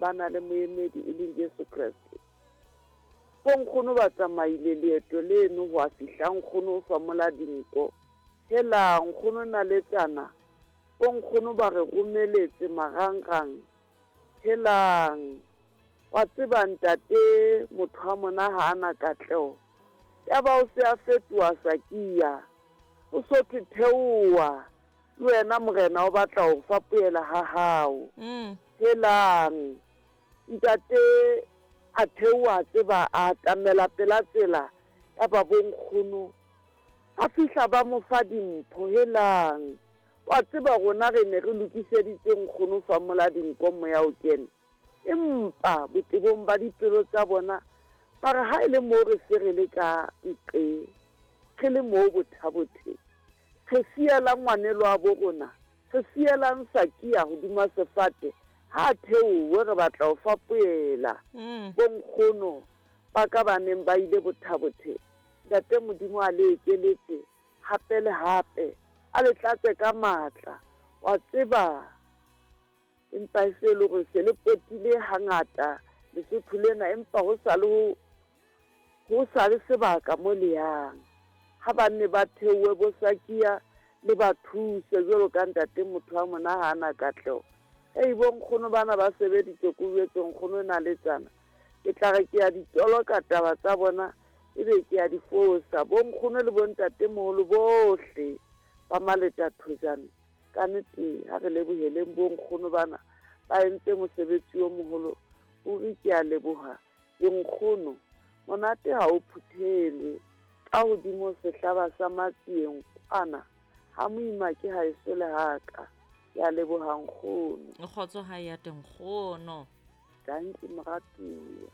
Ba na le moemedi e leng Jesu Kreste. Bonkgono ba tsamaile leeto leno go a fihla nkgono o famola dinko. Hela nkgono naletsana, bonkgono ba re romeletse marangrang. Helang, wa tseba ntate motho wa mona ha a na katleho. Ya ba o se a fetoha Sakia. O so thwe theoha. Le wena Morena o batla ho fapohela ha hao. Helang! Ntate a theoha a tseba a atamela pela tsela ya ba bonkgono. Ba fihla ba mo fa dimpho. Helang! Wa tseba rona re ne re lokiseditse nkgono fa mola dinko moya o kene. Empa botebong ba dipelo tsa bona ba re ha e le moo re se re le ka nqe, re le moo bothabothe, re sielang ngwanelwabo rona, re sielang Sakia hodima sefate, ha a theohe, re batla ho fapohela bonkgono ba ka ba neng ba ile bothabothe. Ntate Modimo a le ekeletse hape le hape, a le tlatse ka matla. Wa tseba, Empa e se e le hore se le potile hangata Lesotho lena, empa ho sa le ho, ho sa le sebaka mo le yang. Ha ba nne ba theohe bo Sakia le ba thuse jwalo ka ntate motho wa mona ha ana katleho. Hei bo nkgono bana ba sebeditse ko jwetse nkgono naletsana. Ke tla re ke ya di toloka taba tsa bona ebe ke ya di fosa. Bo nkgono le bo ntatemoholo bohle ba Maleta Thojane. Ka nete ha re leboheleng bo nkgono bana ba entse mosebetsi o moholo ruri ke a leboha dinkgono monate ha o phuthelwe ka hodimo sehlaba sa matsieng kwana ha moima ke ha eso le haka ke a leboha nkgono. Kgotso ha ya te nkgono. Dankie moratuwa.